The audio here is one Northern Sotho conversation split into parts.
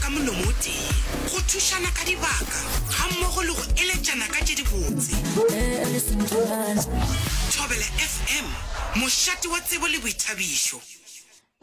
ka molomo o tee, go thušana ka dibaka gammogo le go eletšana ka tše dibotse. Thobela FM, mošate wa tsebo le boithabišo.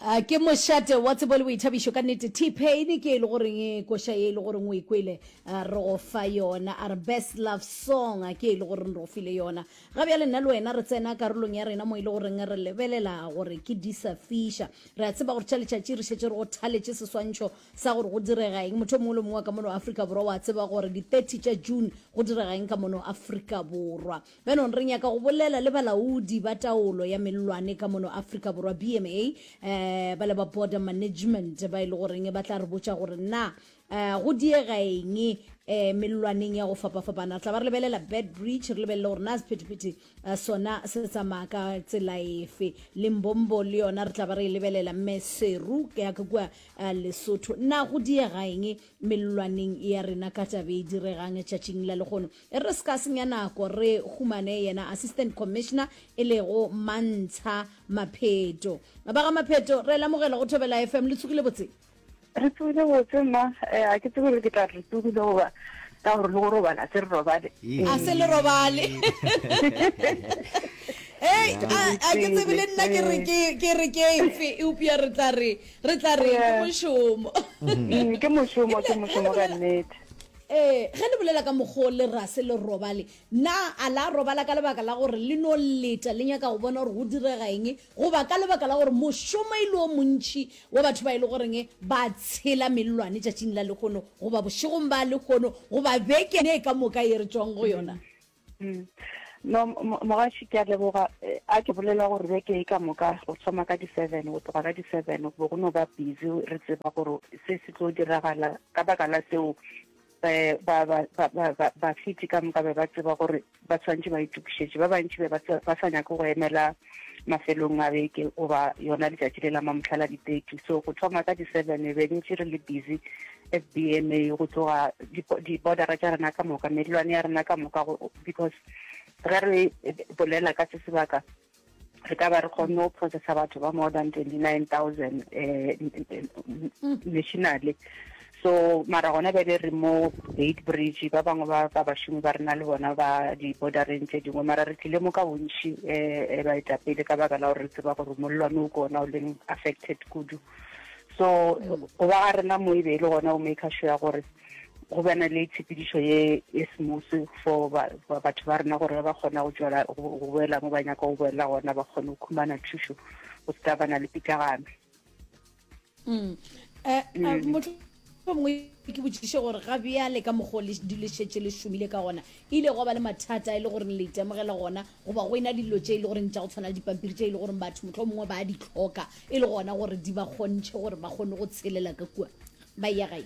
A Ke mošate wa tsebo le boithabišo ka nnete. T-Pain ke e le goreng e koša ye e le goreng o e kwele re go fa yona. A re best love song ke e le goreng re go file yona. Ga bjale nna le wena re tsena karolong ya rena mo e le goreng re lebelela gore ke di sa fiša. Re a tseba gore tša letšatši re šetše re go thaletše seswantšho sa gore go direga eng. Motho o mongwe le mongwe wa ka mono Afrika Borwa wa tseba gore di 30 tša June go direga eng ka mono Afrika Borwa. Bjanong re nyaka go bolela le balaodi ba taolo ya mellwane ka mono Afrika Borwa, BMA, eh, ba le ba Border Management ba e le goreng ba tla re botša gore na eh, go diega eng eh, mellwaneng ya go fapafapana. Re tla ba re lebelela Bed Bridge, re lebelele gore na sephethephethe eh, sona se tsamaya ka tsela efe. Limbombo le yona re tla ba re e lebelela, Maseru ya ka kua eh, Lesotho. Na go diega eng mellwaneng ya rena ka tabe e diregang tšatšing la lehono? E re se ka senya nako re humane yena Assistant Commissioner e lego Mantsha Mapheto. Ba ga Mapheto, re lamogela go Thobela FM, le tsogile botse? Re tsogile botse mma, eh, a ke tsebe gore ke tla re tsogile goba ka gore le go robala se re robale. A se le robale. Ei, a a ke tsebe le nna ke re ke ke re ke efe eupša re tla re re tla re ke mošomo. Mm, ke mošomo, ke mošomo ka nnete. Ee, ge le bolela ka mokgwa o le ra se le robale, na a la robala ka lebaka la gore le no leta le nyaka go bona gore go direga eng, goba ka lebaka la gore mošomo e le o montši wa batho ba e le goreng ba tshela mellwane tšatšing la lehono, goba bošegong ba lehono, goba beke ye ka moka ye re tšwang go yona? No, mogaši, ke a leboga. A ke bolela gore beke e ka moka go thoma ka di-seven, go tloga ka di-seven, go be go no ba busy re tseba gore se se tlo diragala. Ka baka la seo, um ba, ba, ba, ba, ba, bafeti ka moka be ba tseba gore ba tshwanetše ba itokišetše. Ba bantši be ba sa, ba sa nyake go emela mafelong a beke goba yona letšatši le la mamohla la di-thirty. So go thoma ka di-seven be ntše re le busy FBMA go tloga di-bordera tša rena ka moka, mellwane ya rena ka moka, because ge re bolela ka se sebaka re ka ba re kgonne go processa batho ba more than 29,000 eh, nationally. So mara gona bjale re mo Beit Bridge, ba bangwe ba ba bašomi ba rena le bona ba di-bordereng tše dingwe, mara re tlile mo ka bontši um baetapele ka baka la gore re tseba gore mollwane o ke ona o leng affected kudu. So go ba ga rena mo e be e le gona go maker sure gore go bana le tshepedišo ye e smooth for batho ba rena gore ba kgona go tšwela go boela mo ba nyaka go boela gona, ba kgone go khumana thušo go se ka bana le pitlagano. Mm. Eh, eh, mm. Mohlomongwe ke botšiše gore ga bjale ka mokgwa o le di le šetše le šomile ka gona, e ile gwa ba le mathata e le gore le itemogela gona goba go ena le dilo tše e le goreng tša go tshwana le dipampiri tše e le goreng batho mohlomongwe ba a di hloka e le gona gore di ba kgontšhe gore ba kgone go tshelela ka kua ba eya gae?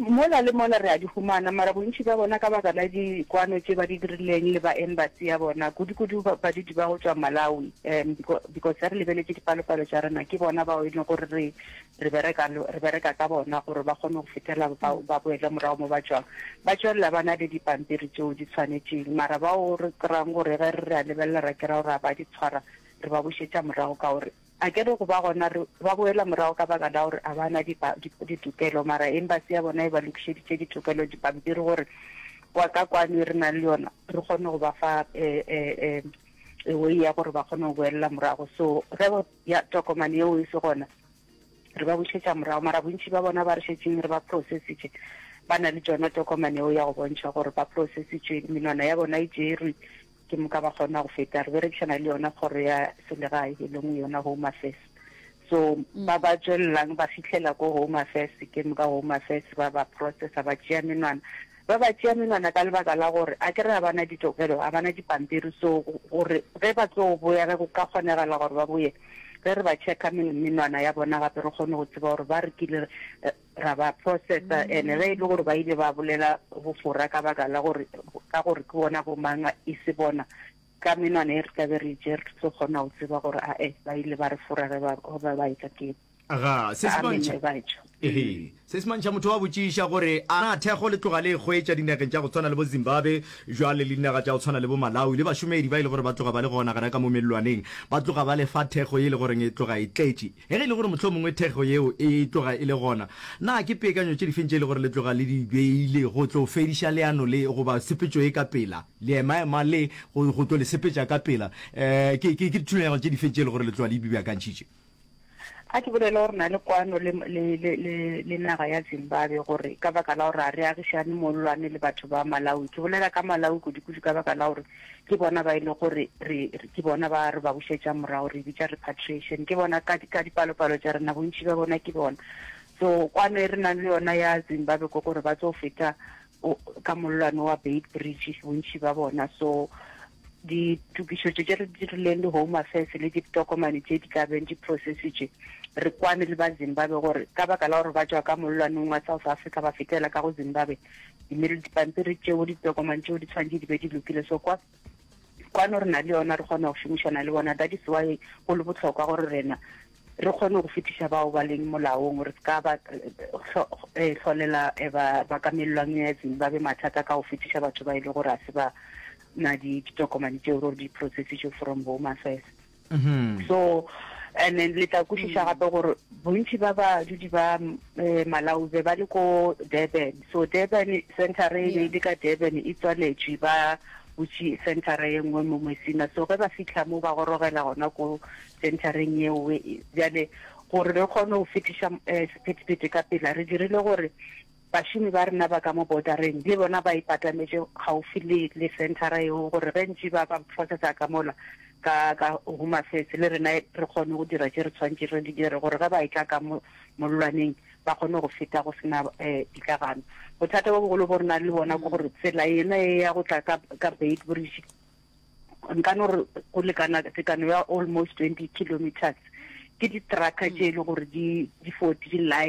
Mola le mola re a di humana, mara bontši bja bona ka baka la dikwano tše ba di dirileng le ba embassy ya bona, kudu-kudu badudi ba go tšwa Malawi, um because ge re lebeletše dipalopalo tša rena ke bona bao e leng gore re Re bereka, re bereka ka bona gore ba kgone go fetela ba, ba boele morago mo ba tšwang. Ba tšwelela ba na le dipampiri tšeo di tshwanetšeng, mara bao re kry-ang gore ge re re a lebelela ra kry-a gore ga ba di tshwara, re ba bušetša morago ka gore a ke re go ba gona re ba boela morago ka baka la gore a ba na dipa, ditokelo, mara embassy ya bona e ba lokišeditše ditokelo, dipampiri gore wa ka kwano e re nang le yona re kgone go ba fa eh, eh, eh, a way ya gore ba kgone go boelela morago. So ge ya tokomane yeo e se gona, re ba bušetša morago. Mara bontši ba bona ba re šetšeng re ba processitše ba na le tšona tokomane yeo ya go bontšha gore ba processitšwe, menwana ya bona e tšerwe, ke moka ba kgona go feta. Re berekišana le yona kgoro ya selegae e leng yona Home Affairs. So ba ba tšwelelang ba fihlela ko Home Affairs, ke moka Home Affairs ba ba processa, ba tšea menwana. Ba ba tšea menwana ka lebaka la gore a ke re ga ba na ditokelo, ga ba na dipampiri, so gore ge ba tlo boya, ge go ka kgonegala gore ba boye, ge re ba checka menwana ya bona gape re kgone go tseba gore ba re kile ra ba processa, and ge e le gore ba ile ba bolela bofora ka baka la gore, ka gore ke bona bo mang e se bona, ka menwana e re tla be re e tšere re tlo kgona go tseba gore ae ba ile ba re fora ge ba, ba etla ke. Aga, se se Ka bontšha. meno e ba etšwa. Ehe. Se se mantšha motho wa botšiša gore a na thekgo le tloga le e hwetša dinageng tša go tshwana le bo Zimbabwe bjale le dinaga tša go tshwana le bo Malawi le bašomedi ba e le gore ba tloga ba le gona gona ka mo mellwaneng ba tloga ba le fa thekgo ye e le goreng e tloga e tletše. Ge e le gore mohlomongwe thekgo yeo e tloga e le gona, na ke peakanyo tše difeng tše e le gore le tloga le di beile go tlo fediša leano le goba tshepetšo ye ka pela, leemaema le go, go tlo le sepetša ka pela? Um ke, ke, ke dithulaganyo tše difeng tše e le gore le tloga le di beakantšhitše? A ke bolele gore na le kwano le, le, le, le, le naga ya Zimbabwe gore ka baka la gore ga re agišane mollwane le batho ba Malawi. Ke bolela ka Malawi kudu-kudu ka baka la gore ke bona ba e le gore re, re, ke bona ba re ba bušetša morago, re e bitša repatriation. Ke bona ka, ka dipalopalo tša rena, bontši bja bona ke bona. So kwano e re nang le yona ya Zimbabwe ke gore ba tlo feta o, ka mollwane wa Beit Bridge, bontši ba bona. So ditokišetšo tše re di dirileng le Home Affairs le ditokomane tše di tla beng di processitše, re kwane le ba Zimbabwe gore ka baka la gore ba tšwa ka mollwaneng wa South Africa ba fetela ka go Zimbabwe, dipampiri tšeo, ditokomane tšeo di tshwanetše di be di lokile. So kwa, kwano re na le yona, re kgona go šomišana le bona. That is why go le bohlokwa gore rena re kgone go fetiša bao ba leng molaong, re se ka ba hlolela ba, ba ka mellwang ya Zimbabwe mathata ka go fetiša batho ba e le gore a se ba na ditokomane tšeo gore di processitšwe from Home Affairs. Mm-hmm. So and then le tla kwešiša gape gore bontši ba badudi ba eh, Malawi be ba le ko Durban. So Durban centre e be e le ka Durban e tswaletšwe ba butše centre ye nngwe mo Messina. So ge ba fihla mo ba gorogela gona ko centereng yeo bjale gore re kgone go fetiša eh, sephethephethe ka pela re dirile gore Bašomi ba rena ba ka mo bodareng le bona ba ipatametše kgaufi le, le senthara yeo gore ge ntši ba ba processa ka mola ka, ka Home Affairs le rena re kgone go dira tše re tshwanetše re di dire gore ge ba etla ka mo mollwaneng ba kgone go feta go se na eh, pitlagano. Bothata bo bogolo bo re nang le bona ke gore tsela yena ye ya go tla ka, ka Beitbridge nka no re go lekana tekano ya almost 20 kilometers ke di-trucker tše e le gore di, di fo di line.